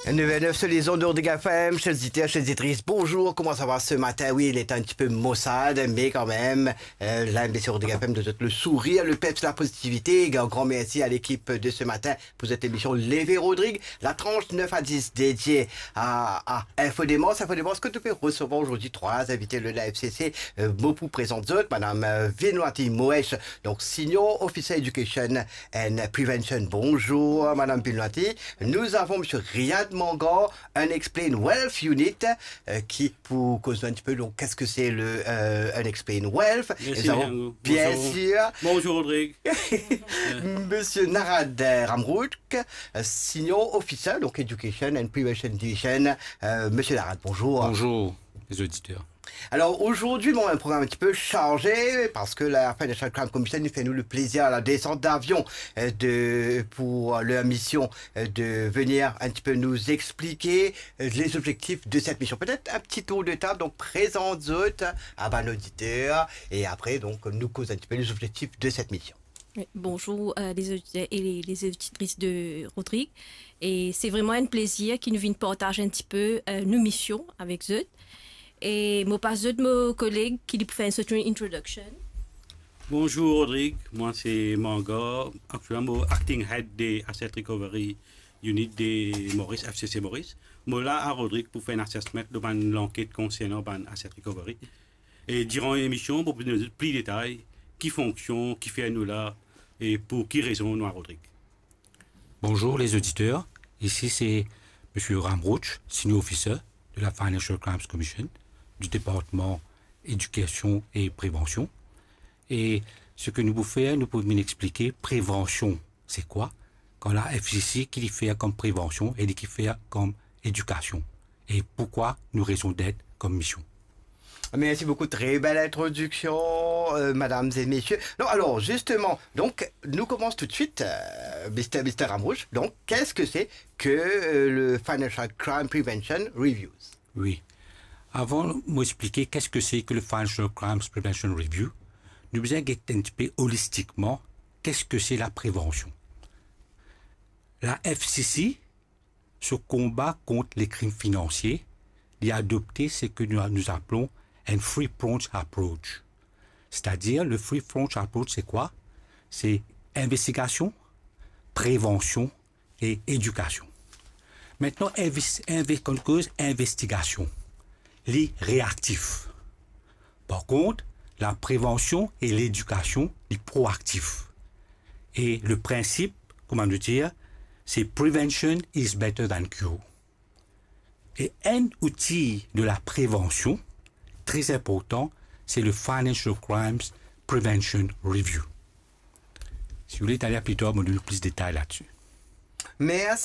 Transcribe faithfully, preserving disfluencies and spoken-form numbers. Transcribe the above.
Neuf heures neuf sur les ondes de Rodrigue F M, chers auditeurs, chères auditrices, bonjour, comment ça va ce matin ? Oui, il est un petit peu maussade, mais quand même, euh, là, sur Rodrigue F M, nous avons le sourire, le peps, la positivité. Et un grand merci à l'équipe de ce matin pour cette émission Lever Rodrigue, la tranche neuf à dix dédiée à, à Info Démence. Info Démence, que tu peux recevoir aujourd'hui trois invités de la F C C, euh, mo pou prezant zot, Madame, euh, Vinwati Moesh, donc Senior Officer Education and Prevention. Bonjour, Madame Vinwati. Nous avons Monsieur Riyad Mangar, Unexplained Wealth Unit, euh, qui, pour qu'on soit un petit peu, donc, qu'est-ce que c'est le, euh, Unexplained Wealth ? Merci, Nous avons, Django. Bien sûr. Bonjour, Rodrigue. Monsieur Narad Ramroutk, euh, Senior Officer, donc Education and Prevention Division. Euh, Monsieur Narad, bonjour. Bonjour, les auditeurs. Alors aujourd'hui, bon, un programme un petit peu chargé parce que la Financial Crime Commission nous fait nous le plaisir à la descente d'avion, euh, de, pour leur mission, euh, de venir un petit peu nous expliquer, euh, les objectifs de cette mission. Peut-être un petit tour de table, donc présente zot à nos auditeurs et après, donc, nous cause un petit peu les objectifs de cette mission. Oui, bonjour, euh, les auditeurs et les, les auditrices de Rodrigue. Et c'est vraiment un plaisir ki nou vinn partaz un petit peu, euh, nou mision avek zot. E mo pas zot mo koleg ki li pou fer enn sort introduction. Bonjour Rodrigue, moi c'est Mangar, actuellement acting head de Asset Recovery Unit de Maurice, F C C Maurice. Mo la a Rodrigue pou fer enn assessment de bann lanket konsernan bann asset recovery. E diran lemision, mo pou donn pli detay ki fonksion, kifer nou la, e pou ki rezon nou a Rodrigue. Bonjour les auditeurs, ici c'est Monsieur Ramroutch, Senior Officer de la Financial Crimes Commission, du département éducation et prévention. E seki nou pou fer, nou pou vinn explike prevansion se kwa, kan la F C C ki li fer kom prevansion e li ki fer kom edikasion, e poukwa nou rezon d'être kom mision. Merci beaucoup, très belle introduction, euh, mesdames et messieurs. Non, alors justement, donc, nous commençons tout de suite, euh, Mister, Mister Ramroutch. Donc, qu'est-ce que c'est que, euh, le Financial Crime Prevention Reviews ? Oui. Avan mo explike qu'est-ce que c'est que le Financial Crimes Prevention Review, nou bizin get un petit peu holistiquement qu'est-ce que c'est la prévention. La F C C, so konba kont lekrim finansie, li adopte seki nou, nou apelon enn three-pronged approach. C'est-à-dire, le three-pronged approach, c'est quoi ? C'est investigasion, prevansion e edikasion. Aster, inves-, inve-, kan nou koz investigasion, li reaktif. Par kont, la prevansion e ledikasion, li proaktif. E le prinsip, kouma nou dir, se prevention is better than cure. E enn outi de la prevansion, tre inportan, se le Financial Crimes Prevention Review. Si vous voulez, Talia, pli tar, mo donn plis detay ladsi. Merci.